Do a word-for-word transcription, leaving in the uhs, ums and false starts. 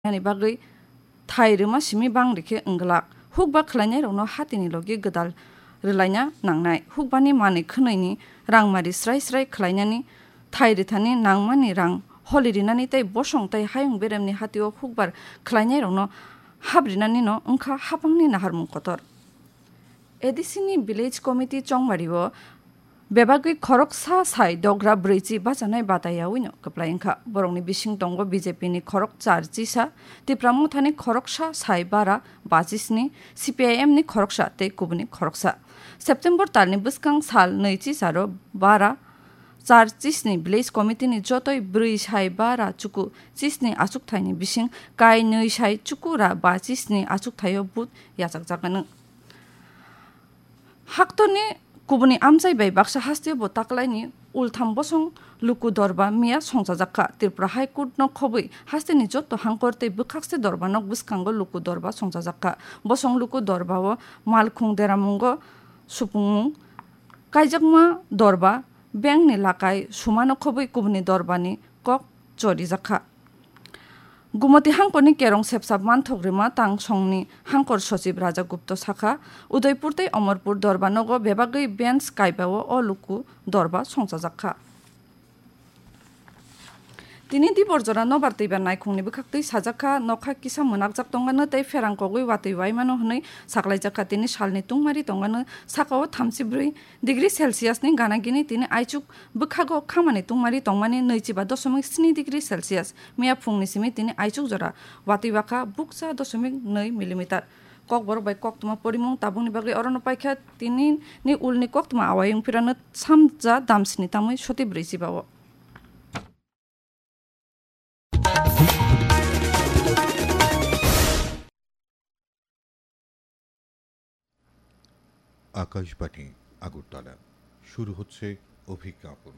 Yani bagwi thai rwma simi bang rikhe wngglak. Hukba khwlainairokno hatini logi gwdal rwlaina nangnai. Hukbani manwi khwnwini rangmari srai srai khwlainani, thai rithani nangmani rang holi rinani tei bosong tei hayung beremni hatio hukbar khwlainairokno hap rinanino wngkha hapangni naharmung kotor. A D C ni Village Committee chongmario bebagwi khoroksa sai dogra brwichi bachanai batayawino kwplai wngkha. Borokni bising tongo B J P ni khorok char chisa, Tipra Mothani khoroksa sai bara bachisni, C P I M ni khoroksa tei kubuni khoroksa. September talni bwskang sal nwi chisaro bara char chisni Village Committee ni jotoi brwi sai bara chuku chisni achukthaini bising kai nwi sai chuku ra bachisni achukthaio vote yachakjaknw. Haktorni kubuni amchai bai baksa hasteo bo taklaini ultham bosong luku dorba miya songchajakha. Tripura High Court no khobwi hasteni jotto hangkor tei bwkhakse dorba nok bwskango luku dorba songchajakha. Bosong luku dorba o malkhung deramungo supungmung kaijakma dorba bengni lakai sumano khobwi kubuni dorbani kok chorijakha. Gumoti hangkorni kerong sepsap manthok rima tang songni hangkor sochib Raja Gupta sakha, Udaipur tei Omorpur dorba nogo bebagwi bench kaibao o luku dorba songchajakha. Tini Diborjora nobar twibar naikhungni bwkhaktwi sajakha, nokha kisa mwnakjak tongano tei pherang kogwi watwi waimano hwnwi saklaijakha. Tini salni tungmari tongano sakao thamchi brwi degree Celsius ni gana gini tini aichuk bwkhago khamani tungmari tongmani nwichiba dosomik sni degree Celsius. Miya phungni simi tini aichuk jora watwi wakha bukcha dosomik nwi millimeter. Kokborok bai koktwma porimung tabukni bagwi orono paikha tini ni ulni koktwma awai wngphirano samja damsini tamwi soti brwi chibao. Akashvani আগরতলা। শুরু হচ্ছে অভিজ্ঞাপন।